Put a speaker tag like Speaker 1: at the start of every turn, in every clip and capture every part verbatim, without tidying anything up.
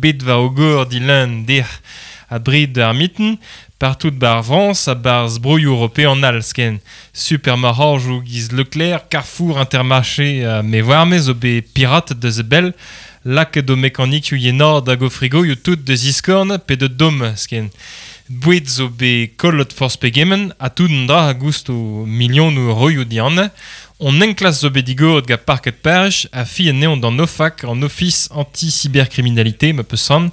Speaker 1: bet war o gor di lun dec'h a bred ar mitten, partout bar Frañs a barz broioù european all sken. Supermarc'hajoù giz Leclerc, Carrefour, Intermarché uh, me warme zo bet pirate deus e bell, lakaet o mekanikioù yenad hag o frigoioù tout deus iskorn pe de dom sken. Boued zo bet kollet forzh pegement ha tout an dra a goust o milionoù euroioù dianne. On enklas zo bet digoret gant parket Paris a fi anezhañ d'an O F A C, an Office anti-cybercriminalité, ma peus san.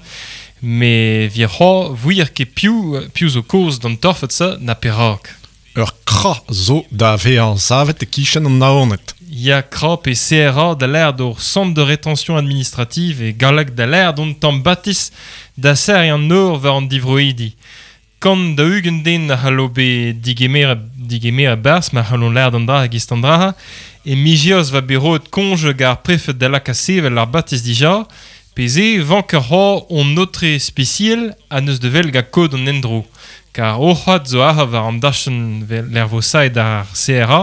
Speaker 1: Me vir c'ho vouir ket piv, piv zo koz d'an torfed sa na perak.
Speaker 2: Ur kra zo da vezañ savet e kichen an Naoned.
Speaker 1: Ya kra pe C R A da l'air d'ur centre de rétention administrative e galleg da l'air d'on tamm batis da ser an nor war an divroidi. Kant da ugent den a c'hallo bet digemer, digemer a-barzh ma c'hallont l'air d'an dra hag ist an dra e mijios va bet roet konj gar prefed da laka sevel ar batis dija pe se vank ur c'hor on notre spécial a neus de vel ga kod an endro. Kar o c'hoad zo ar war an dachenn l'ervosaet ar C R A,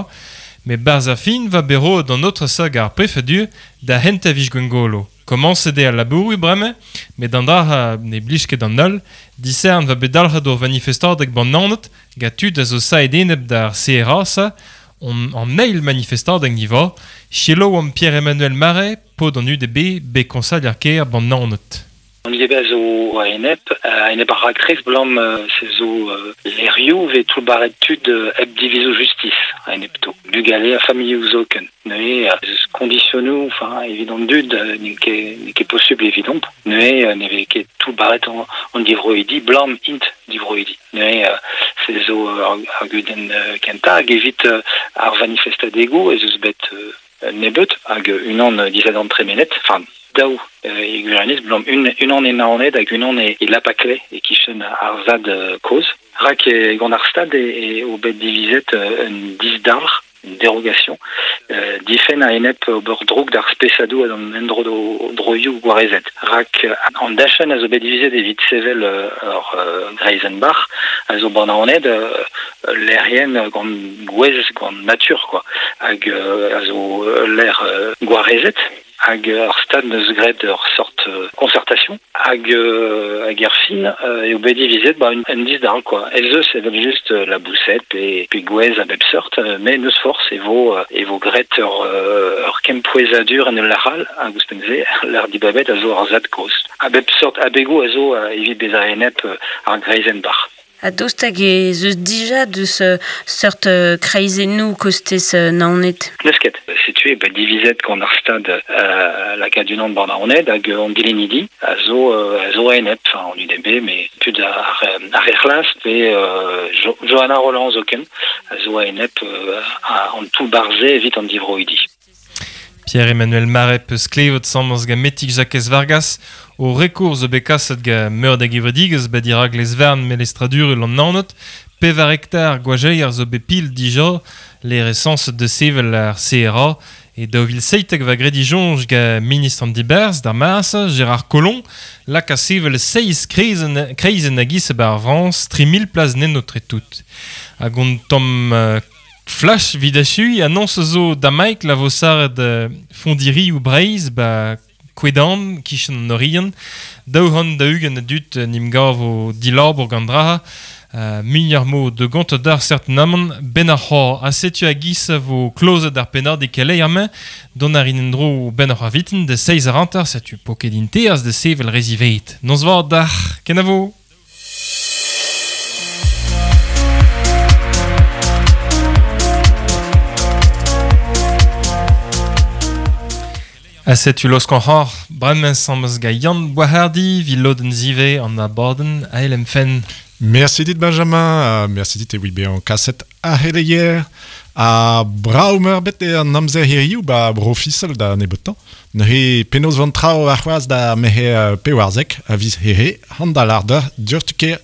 Speaker 1: me barz a fin va bet roet an autre sa gar prefedur da hent a vij gwengolo. Komañset eo al labourioù bremañ, met an dra ne blij ket an holl, disern va bet dalc'het ur manifestadeg ban Naoned, gant tud a zo saet enep d'ar C R A sa, on, an eil manifestadeg ni va, Chelo am Pierre-Emmanuel Marais, pod an U D B, be konsal ar kêr ban Naoned.
Speaker 3: An U D B a zo a-enep, a-enep ar raktres blam se zo lerioù ve tout baret tud hep divizo justice a-enep to. Bugale a familhoù zoken. Neuze, eus kondisionoù, enfin, evident dud, n'eo ket, n'eo ket posubl evident. Neuze, ne vez ket tout baret an, an divroidi, blam int divroidi. Neuze, se zo ar, ar gudenn kenta, hag evit ar manifestadego, ez eus bet nebeut, hag unan disadant tremenet, enfin, daou e gwirionez, blam un, unan e Naoned hag unan e, e Lapakle e kichen ar zad koz. Rak e gant ar stad e, e o bet divizet un disdalc'h, une dérogation, euh, difen a enep ober droug d'ar spesadou ad an endro do droioù gwarezet. Rak an dachen a zo bet divizet evit sevel ur euh, Greizenbach, a zo ban Naoned euh, l'aerien gant gwez, gant nature, quoi. Hag euh, a zo l'air euh, gwarezet. Hag ar stad neus graet ur sort euh, concertation hag euh, hag er fin euh, eo bet divizet ba un, un disdal quoi. Ez eus evel just euh, la boussette pe, pe gwez a bep sort, euh, mais neus force e vo, euh, e vo graet ur, euh, ur kempouezadur en ul laral hag ouzhpenn-se l'ar dibabet a zo ar zad koz. A bep sort abego a zo euh, evit bezañ enep euh, ar Greizenbach.
Speaker 4: A dost hag ez eus dija deus seurt kreizennoù kostez Naoned?
Speaker 3: N'eus ket. Setu eo bet divizet gant ar stad euh, lakaat unan ban Naoned hag an dilenidi a zo, euh, a zo enep, enfin en U D B, mais tud ar, ar Erc'hlas pe euh, jo, Johanna Roland zoken a zo enep euh, a, an tout barze evit an divroidi.
Speaker 1: Pierre-Emmanuel Marais peus klevet samans gant Metig Jakez Vargas o rekour zo bet kaset gant meur da gevredigezh bet dirak les vern melestradurel an Naoned, pevar hektar gwajeier zo bet pil dija les recenses de sevel ar C R A e daou vil seitek va gredi jonj gant ministr an Diberz d'ar Mars, Gérard Collomb, lak a sevel seiz kreizen, kreizen a giz bar Frañs, tri mil plas nenno tre tout. Hag on tamm euh, Flash vidachui annonce zo damaik la vo saret euh, fondiri ou Breizh ba Kwedan, kichen an Orient, daou c'hant da ugent a dud nim gav o dilabour gant draha, euh, muioc'h mo de gant d'ar certenamant ben ar c'hor. A setu a giz vo klozet ar pennad e keleier amañ, don ar in endro ben ar c'haviten de seiz ar hanter, setu poket inteaz de sevel reziveit. Noz vat d'ar, kenavo! A setu los kan c'hor, bremañ samez ga Yann Boishardy, vi lodenn zive an abadenn A L M F N.
Speaker 2: Merci dit Benjamin, uh, merci dit e oui be an kaset a heleier a braumer bet e an amzer hiriou ba bro fisel da nebeutañ. Neuze penaos van trao ar c'hoazh da mehe uh, pewarzek a viz here, hand da larda, dioc'htu ker.